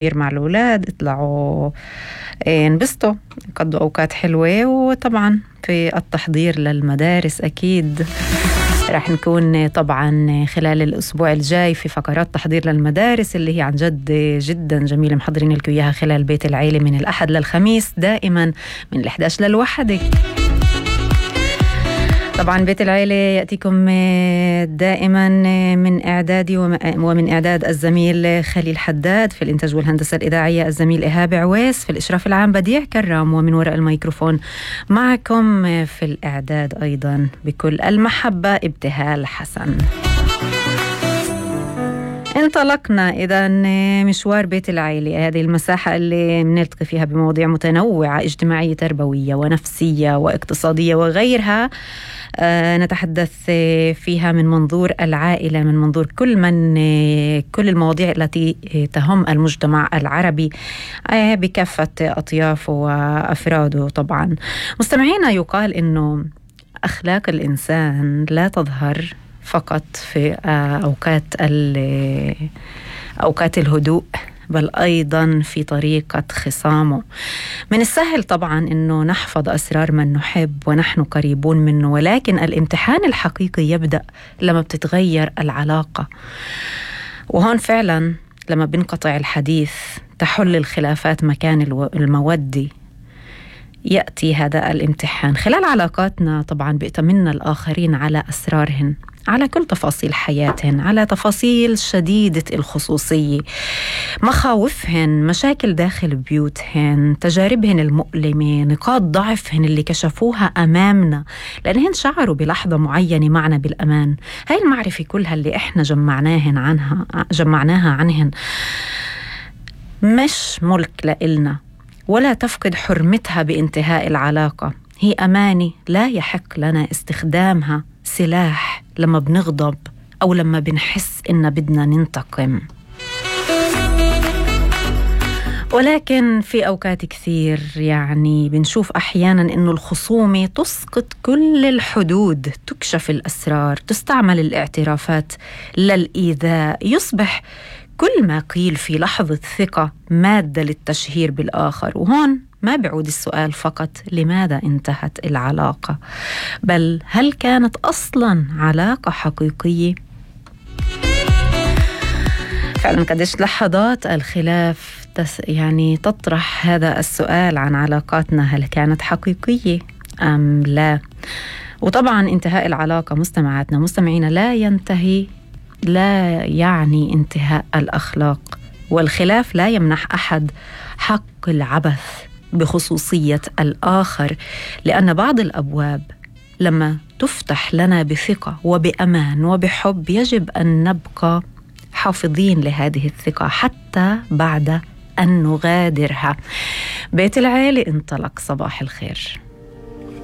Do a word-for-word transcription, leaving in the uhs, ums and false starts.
مع الأولاد، اطلعوا انبسطوا، قضوا أوقات حلوة. وطبعا في التحضير للمدارس أكيد رح نكون طبعا خلال الأسبوع الجاي في فقرات تحضير للمدارس اللي هي عن جد جدا جميلة، محضرين لكم إياها خلال بيت العيلة من الأحد للخميس دائما من الإحدى عشر للواحدة. طبعا بيت العيلة يأتيكم دائما من إعدادي ومن إعداد الزميل خليل حداد، في الإنتاج والهندسة الإذاعية الزميل إيهاب عويس، في الإشراف العام بديع كرام، ومن وراء الميكروفون معكم في الإعداد أيضا بكل المحبة ابتهال حسن. انطلقنا إذا مشوار بيت العيلة، هذه المساحة اللي بنلتقي فيها بمواضيع متنوعة اجتماعية تربوية ونفسية واقتصادية وغيرها. آه نتحدث فيها من منظور العائلة، من منظور كل من كل المواضيع التي تهم المجتمع العربي آه بكافة أطيافه وأفراده. طبعا مستمعينا، يقال إنه أخلاق الإنسان لا تظهر فقط في أوقات أوقات الهدوء، بل أيضا في طريقة خصامه. من السهل طبعا أنه نحفظ أسرار من نحب ونحن قريبون منه، ولكن الامتحان الحقيقي يبدأ لما بتتغير العلاقة. وهون فعلا لما بنقطع الحديث تحل الخلافات مكان المودة، يأتي هذا الامتحان. خلال علاقاتنا طبعا بيأتمنى الآخرين على أسرارهن، على كل تفاصيل حياتهن، على تفاصيل شديدة الخصوصية، مخاوفهن، مشاكل داخل بيوتهن، تجاربهن المؤلمة، نقاط ضعفهن اللي كشفوها أمامنا لأنهن شعروا بلحظة معينة معنا بالأمان. هاي المعرفة كلها اللي إحنا جمعناهن عنها جمعناها عنهن مش ملك لإلنا، ولا تفقد حرمتها بانتهاء العلاقة. هي أمانة لا يحق لنا استخدامها سلاح لما بنغضب أو لما بنحس إن بدنا ننتقم. ولكن في أوقات كثير يعني بنشوف أحيانا إنه الخصومة تسقط كل الحدود، تكشف الأسرار، تستعمل الاعترافات للإيذاء، يصبح كل ما قيل في لحظة ثقة مادة للتشهير بالآخر. وهون ما بعود السؤال فقط لماذا انتهت العلاقة، بل هل كانت أصلاً علاقة حقيقية؟ فعلاً قديش لحظات الخلاف تس يعني تطرح هذا السؤال عن علاقاتنا، هل كانت حقيقية أم لا؟ وطبعاً انتهاء العلاقة مستمعاتنا مستمعين لا ينتهي لا يعني انتهاء الأخلاق، والخلاف لا يمنح أحد حق العبث بخصوصية الآخر، لأن بعض الأبواب لما تفتح لنا بثقة وبأمان وبحب يجب أن نبقى حافظين لهذه الثقة حتى بعد أن نغادرها. بيت العيلة انطلق. صباح الخير.